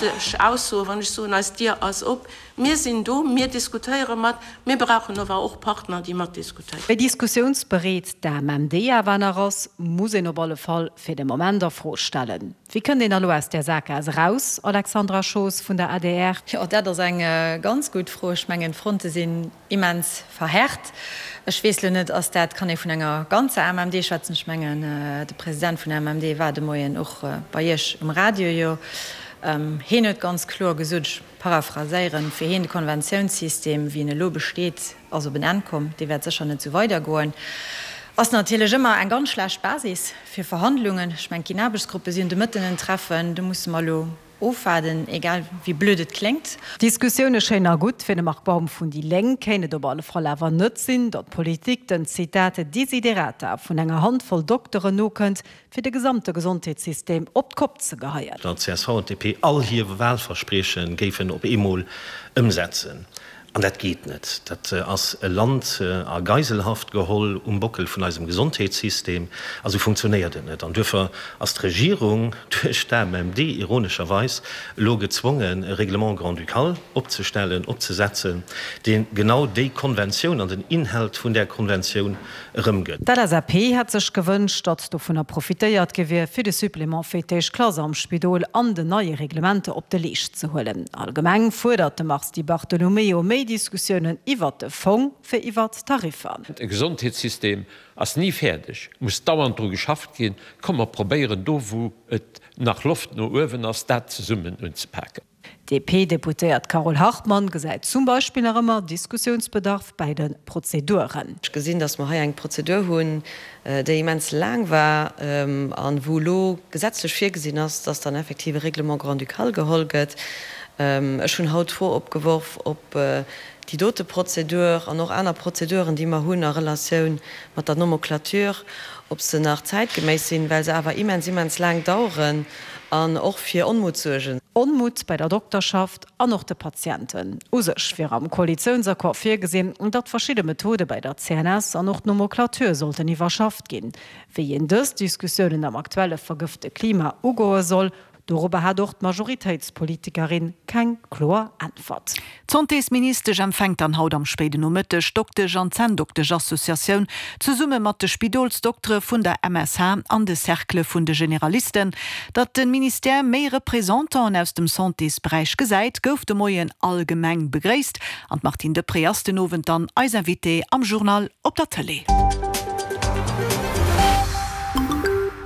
politesch Aussoe wann ech soen, eis Dier ass op, mir sinn do, mir diskutéiere mat, mir brauchen ower och Partner, déi matdiskutéieren. Wéi diskussiounsbereet d'AMMD awer nach ass, muss een op alle Fall fir de Moment a Fro stellen. Wéi kënnt een da lo aus där Sakgaass eraus, Alexandra Schoos vun der adr? Jo, dat ass eng ganz gutt Fro. Ech mengen, d'Fronte sinn immens verhärt. Ech weess lo net, ass dat, kann ee vun enger ganzer AMMD schwätzen? Ech mengen, de President vun der AMMD war de Moien och bei Iech um Radio jo. Hien huet ganz kloer gesot, ech paraphraséieren, fir hien de Konventiounssystem, wéi en elo besteet, ass op en Enn komm, dee wäert sécher net esou weidergoen. Ass natierlech ëmmer eng ganz schlecht Basis fir Verhandlungen. Ech mengen, et ginn Aarbechtsgruppe, si hunn de Mëtten en Treffen, do musse mer elo ofwaarden, egal wéi blöd et kléngt. Diskussioune schéin a gutt, fir de Marc Baum vun déi Lénk kéint et op alle Fall awer net sinn, datt d'Politik den, Zitat, Desiderata vun enger Handvoll Dokteren nokënnt, fir de gesamte Gesondheetssystem op d'Kopp ze geheien. Datt csv an DP all hir Wahlversprieche géifen op eemol ëmsetzen. An dat geet net. Dat ass e Land a Geiselhaft geholl um Bockel vun eisem Gesondheetssystem. A sou funktionéiert et net. An duerfir ass d'Regierung duerch d'AMMD ironescherweis elo gezwongen, e Règlement grand-ducal opzestellen, opzesetzen, dee genau déi Konventioun an den Inhalt vun där Konventioun erëmgëtt. D'LSAP hätt sech gewënscht, datt dovunner profitéiert gi wier, fir de Supplément fir d'éischt Klass am Spidol an den neie Reglementer op de Leescht ze huelen. Allgemeng fuerdert de Mars Di Bartolomeo méi Diskussiounen iwwert de Fong wéi iwwert d'Tariffer. E Gesondheetssystem ass ni fäerdeg, muss dauernd dru geschafft ginn. Komm mer probéieren do wou et nach Loft no uewen ass, dat zesummen unzepaken. D'DP-Deputéiert Carole Hartmann gesäit zum Beispill nach ëmmer Diskussiounsbedarf bäi de Prozeduren. Ech gesinn, datt mer hei eng Prozedur hunn, déi immens laang war a wou elo gesetzlech virgesinn ass, datt dann effektiv e Règlement grand-ducal geholl gëtt. Ech hunn haut d'Fro opgeworf, ob déi dote Prozedur an och aner Prozeduren, déi mer hunn a Relatioun mat der Nomenclature, ob se nach zäitgeméiss sinn, well se awer immens, immens laang daueren an och fir Onmut suergen. Onmut bei der Dokterschaft an och de Patienten. U sech wier am Koalitiounsaccord virgesinn, datt verschidde Methode bei der CNS an och d'Nomenclature sollten iwwerschafft ginn. Wéi een dës Diskussiounen am aktuelle vergëfte Klima ugoe soll, Dorobber hat och d'Majoritéitspolitikerin keng kloer Äntwert. D'Santésministesch empfänkt dann haut am spéiden Nomëtteg d'Doktesch an d'Zänndoktesch-Associatioun zesumme mat de Spidolsdoktere vun der MSH an de Cerclë vun de Generalisten. Datt de Ministère méi Représentanten aus dem Santésberäich gesäit, gouf de Moien allgemeng begréisst. An d'Martine Deprez ass den Owend dann eis Invitée am Journal op der Tëlee.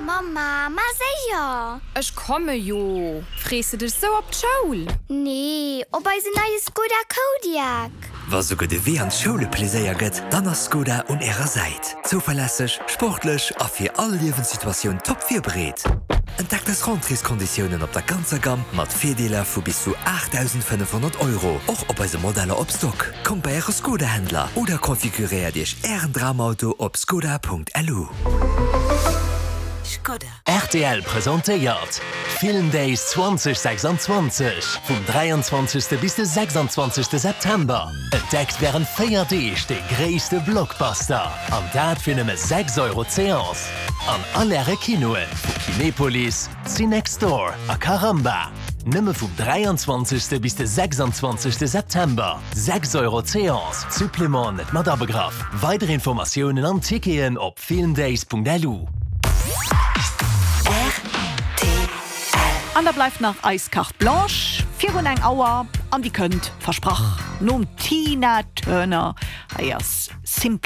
Mamma, ma séier! Ech komme jo! Frees de dech sou op d'Schoul? Nee, op eisen neie Skoda Kodiaq! Wa souguer de Wee an d'Schoul e Pleséier gëtt, dann ass Skoda un ärer Säit. Zouverlässeg, sportlech a fir all Liewenssituatioun top virbereet. Entdeckt eis Rentréeskonditiounen op der ganzer Gamm mat Virdeeler vu bis zu 8.500 Euro, och op eise Modeller op Stock. Kommt bei äre Skoda-Händler oder konfiguréiert iech ären Dramauto op skoda.lu. Skoda. Rtl presentéiert Film Days 2026 vum 23. Bis de 26. September. Entdeckt wärend 4 Deeg de gréisste Blockbuster an dat fir nëmme 6 Euro d'Seance an all äre Kinoen vu Kinepolis, Cinextdoor a Caramba. Nëmme vum 23. Bis de 26. September, 6 Euro d'Seance, Supplément net mat abegraff. Weider Informatiounen an Ticketen op filmdays.lu. An da bleift nach eis Carte Blanche virun eng Auer an déi kënnt, versprach, nom Tina Turner. Hei ass Simply.